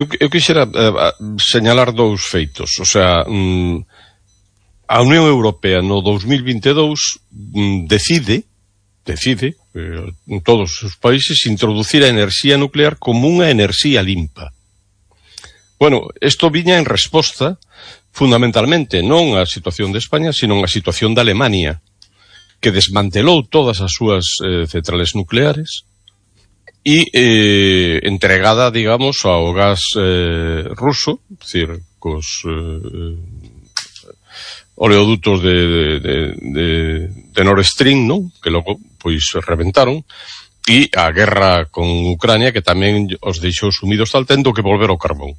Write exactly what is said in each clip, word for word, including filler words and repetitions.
Eu, eu quixera eh, señalar dous feitos. O sea, mm, a Unión Europea no dos mil vinte e dous mm, decide, decide, eh, en todos os países, introducir a enerxía nuclear como unha enerxía limpa. Bueno, isto viña en resposta, fundamentalmente, non á situación de España, sino á situación de Alemania, que desmantelou todas as súas eh, centrales nucleares e eh, entregada, digamos, ao gas eh, ruso, é dicir, cos eh, oleodutos de, de, de, de Nord Stream, non? Que logo, pois, reventaron, e a guerra con Ucrania, que tamén os deixou sumidos tal tendo que volver ao carbón.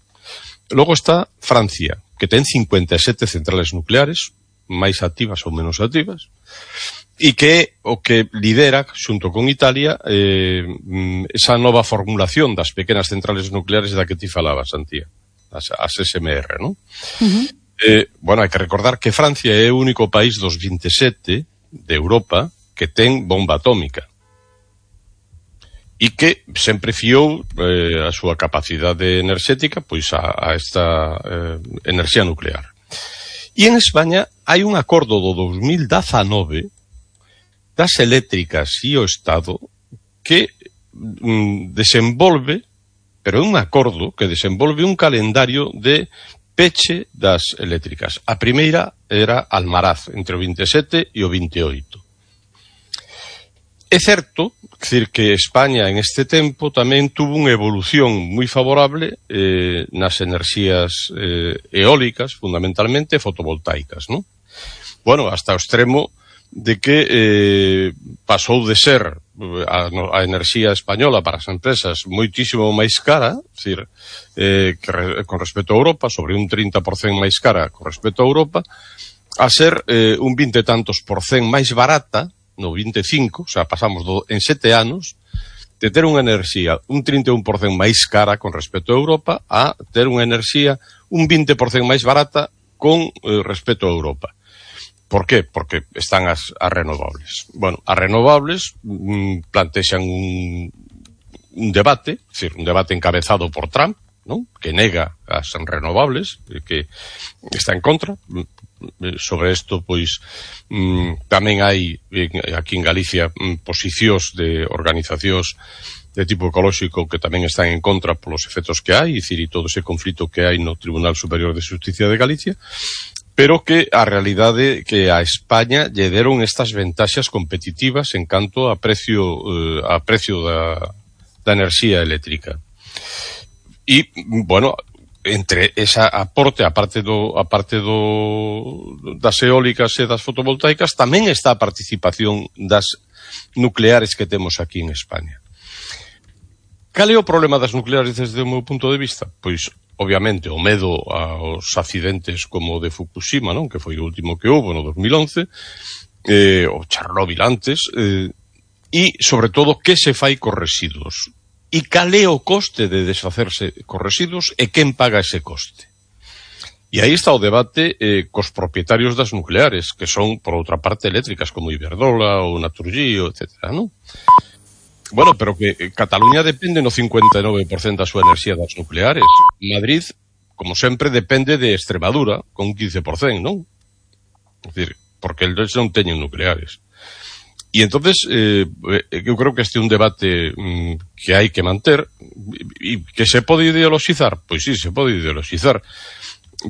Logo está Francia, que ten cincuenta e sete centrales nucleares, máis activas ou menos activas, e que é o que lidera, xunto con Italia, eh, esa nova formulación das pequenas centrales nucleares da que ti falabas, Antía, as, as S M R, non? Uh-huh. Eh, bueno, hai que recordar que Francia é o único país dos vinte e sete de Europa que ten bomba atómica e que sempre fiou eh, a súa capacidade enerxética pois a, a esta eh, enerxía nuclear. E en España hai un acordo do dos mil dezanove das eléctricas e o Estado que mm, desenvolve, pero é un acordo que desenvolve un calendario de peche das eléctricas. A primeira era Almaraz, entre o vinte e sete e o vinte e oito. É certo, decir, que España en este tempo tamén tuvo unha evolución moi favorable eh, nas enerxías eh, eólicas, fundamentalmente fotovoltaicas, non? Bueno, hasta o extremo de que eh, pasou de ser a, a enerxía española para as empresas moitísimo máis cara, decir, eh, que re, con respecto a Europa, sobre un trinta por cento máis cara con respecto a Europa, a ser eh, un vinte e tantos por cento máis barata, no vinte e cinco, o sea, pasamos do, en sete anos, de ter unha enerxía un trinta e un por cento máis cara con respecto a Europa a ter unha enerxía un vinte por cento máis barata con eh, respecto a Europa. Por qué? Porque están as, as renovables. Bueno, as renovables mmm, plantexan un, un debate, es decir, un debate encabezado por Trump, ¿no? Que nega as renovables, que está en contra. Sobre isto, pois, mmm, tamén hai aquí en Galicia mmm, posicións de organizacións de tipo ecolóxico que tamén están en contra polos efectos que hai, e dicir, e todo ese conflito que hai no Tribunal Superior de Xusticia de Galicia, pero que a realidade que a España lle deron estas ventaxas competitivas en canto a precio eh, a precio da, da enerxía eléctrica. E, bueno, entre esa aporte, a parte do a parte do das eólicas e das fotovoltaicas, tamén está a participación das nucleares que temos aquí en España. Cal é o problema das nucleares desde o meu punto de vista? Pois, obviamente, o medo aos accidentes como o de Fukushima, non? Que foi o último que houve no dos mil once, eh, o Chernobyl antes, eh, e, sobre todo, que se fai cos residuos. E cal é o coste de desfacerse cos residuos e quen paga ese coste. E aí está o debate eh, cos propietarios das nucleares, que son, por outra parte, eléctricas, como Iberdrola ou Naturgy, etcétera, non? Bueno, pero que Cataluña depende no cincuenta e nove por cento da súa enerxía das nucleares. Madrid, como sempre, depende de Extremadura, con un quince por cento, non? É dicir, porque eles non teñen nucleares. E entonces, eh, eu creo que este é un debate mm, que hai que manter, e que se pode ideologizar, pois sí, se pode ideologizar,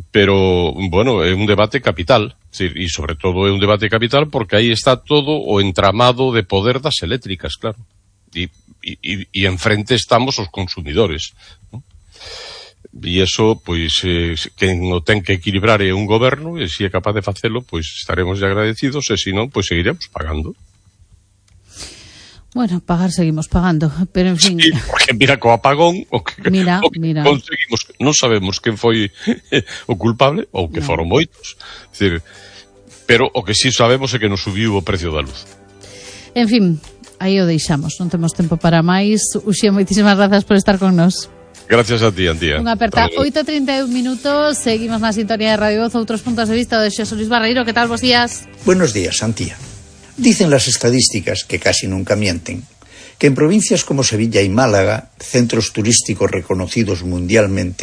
pero, bueno, é un debate capital, e sobre todo é un debate capital porque aí está todo o entramado de poder das eléctricas, claro. E, e, e enfrente estamos os consumidores, ¿no? E iso, pois, eh, quen o ten que equilibrar é un goberno, e se é capaz de facelo, pois estaremos agradecidos, e se non, pois seguiremos pagando. Bueno, pagar seguimos pagando, pero en fin... Sí, porque mira, co apagón, o que, mira, o que mira. conseguimos, non sabemos quen foi o culpable, ou que no. foron moitos, é dicir, pero o que sí sabemos é que nos subiu o precio da luz. En fin, aí o deixamos, non temos tempo para máis. Uxía, moitísimas grazas por estar con nos. Gracias a ti, Antía. Unha aperta, oito e trinta e un minutos, seguimos na sintonía de Radio Voz, outros puntos de vista de Xosé Luis Barreiro. Que tal, bos días? Buenos días, Antía. Dicen las estadísticas, que casi nunca mienten, que en provincias como Sevilla y Málaga, centros turísticos reconocidos mundialmente,